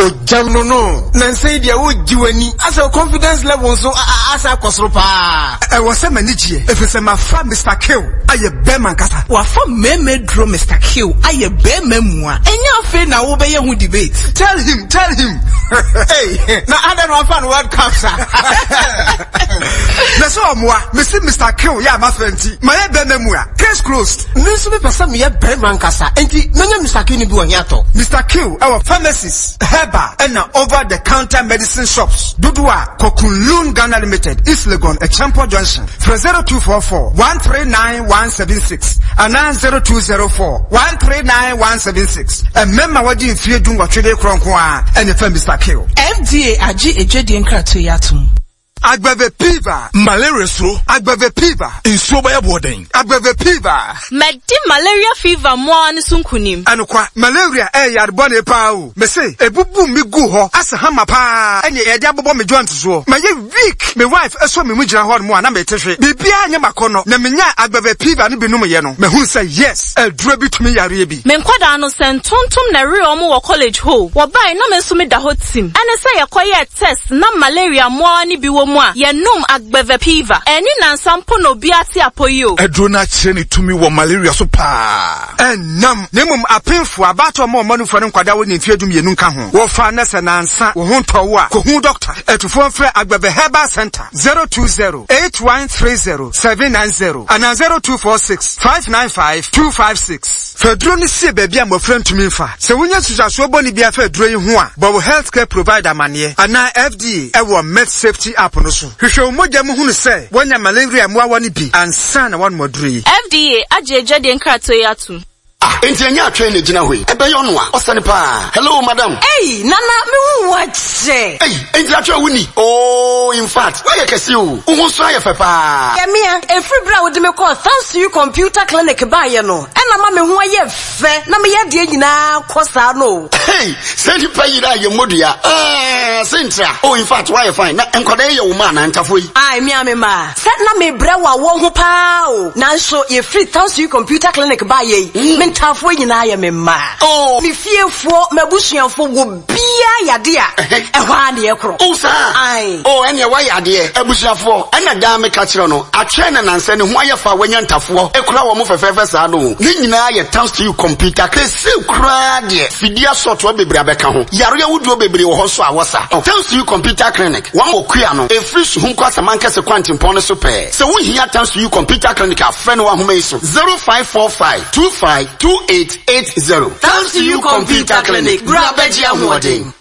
Ogyam no no. Nansa yi deɛ wogye w'ani. Asɛ wo confidence level nso asa akɔ soro paa. Ɛwɔ sɛ m'ani gyeɛ efisɛ mafa Mister Kill ayɛ bɛɛma ankasa. Wafa mɛɛma aduro Mister Kill ayɛ bɛɛma mua. Ɛnyɛ afei na wobɛyɛ ho debate. Tell him, tell him. Hey, na adɛn na wafa no World Cup sa? Na sɛ ɔmoa, mese Mister Kill yɛ a mafa nti, mayɛ bɛɛma mua. Case closed. Me nso mepɛ sɛ meyɛ barima ankasa, enti mɛnya Mister Q no bi wɔ he atɔ? Mister Q wɔ pharmacies, herbal ɛna over the counter medicine shops dodoɔ a kɔ Kunlun Ghana Limited, East Legon, Acheampong Junction. Frɛ 0244 139 176 anaa 0204 139 176. Mmarima a wɔadi mfeɛ dunwɔtwe de rekorɔ nko ara na ɛfa Mister Q. FDA agye adwadie nkratoɔ yi atom. Agbeve piva. Malaria suro. Agbeve piva. Nsuo bɛyɛ boɔden. Agbeve piva. Madi malaria fever mmoawa no so nkunim. Anokwa, malaria ɛyɛ yare bɔne paa o. Mese, ebubu me guu hɔ asɛ hammer paa ɛne yɛde abobɔ me joint soɔ. Mayɛ weak, me wife sɔ me mu gyina hɔ nom a na mete hwe. Biribiara nyɛ m'akɔnnɔ. Na menyaa Agbeve piva no bi nomyɛ no, mahunu sɛ yes, aduro bi tumi yareɛ bi. Me nkwadaa no, sɛ ntontom na ɛwee wɔn wɔ college hɔ o, wɔbae na me nso meda hɔ tim. Ɛne sɛ yɛkɔyɛɛ test na malaria mmoawa no bi wɔ mu a, yɛnom Agbeve-Piva. Anni nnansa mpo na obiara te apɔ yi o. Aduro no akyerɛ ne tumi wɔ malaria so paa. Ɛnnam, na mmom apemfoɔ, abaatan a wɔma nufoɔ ne nkwadaa a wɔnni mfeɛ dumienu nka ho. Wɔfa na sɛ nansa wo ho ntɔ wo a, kɔhu dɔkta. Atufoɔ mfrɛ Agbeve Herbal Centre, 020 8130 790 anaa 0246 595 256. Fa aduro no sie baabi a mmɔfra ntumi mfa. Sɛ wunya nsunsuansoɔ bɔne biara fa aduro yi ho a, bɔ wo healthcare provider amanneɛ anaa FDA wɔ MedSafety app no so. Hwehwɛ wo mogya mu hunu sɛ woanya malaria mmoawa no bi ansa na woanom aduro yi. FDA agye adwadie nkratoɔ yi atom. Ah, enti ɛnyɛ atwɛn na egyina hɔ yi? Ɛbɛyɛ ɔno a, ɔsɛne paa. Hello, madam. Ei, Nana, me hu wo akyɛ. Ei, enti atwɛn wo ni? Oh, in fact, woayɛ kɛse o. Wo ho nso ayɛ fɛ paa. Yɛ mea, ɛfiri berɛ a wode me kɔɔ Thanks to You Computer Clinic baeɛ no, ɛna ama me ho ayɛ fɛ na meyɛ adeɛ nyinaa kɔ saa no o. Hey, sɛ nipa yera a yɛ mmɔdua. Ah, sentra. Oh, in fact, woayɛ fine. Na nkwadaa yi yɛ wo mma anaa ntafoɔ yi? Ae, me a me mma. Sɛ na mebrɛ wɔ awɔ ho paa o. Nanso yɛfiri Thanks to You Computer Clinic baeɛ yi, me ntaafoɔ nyinaa yɛ me mma. Oh. Me fiefoɔ, m'abusuafoɔ, obiara yɛ adeɛ a, ɛhɔ ara na yɛkorɔ. Oh, saa? Ae. Oh, ɛneɛ woayɛ adeɛ. Abusuafoɔ, ɛna daa meka kyerɛ no, atwɛn na nansɛ ne ho ayɛ fɛ a wanya ntafoɔ kura wɔn fɛfɛɛfɛ saa no o. Ne nyinaa yɛ Thanks to You Computer Clinic. Seesei koraa deɛ, fidie asɔɔtoa bebree abɛka ho. Yareɛ ahodoɔ bebree wɔ hɔ nso a wɔsa. Thanks to You Computer Clinic, wɔn wɔ Kua no, ɛfiri Suhum kɔ Asamankɛse kwantempɔn no so pɛɛ. Sɛ wohia Thanks to You Computer Clinic a, frɛ no wɔ ahoma yi so, 0545 25 28 80. Thanks to You Computer Clinic, bra bɛgye ahoɔden.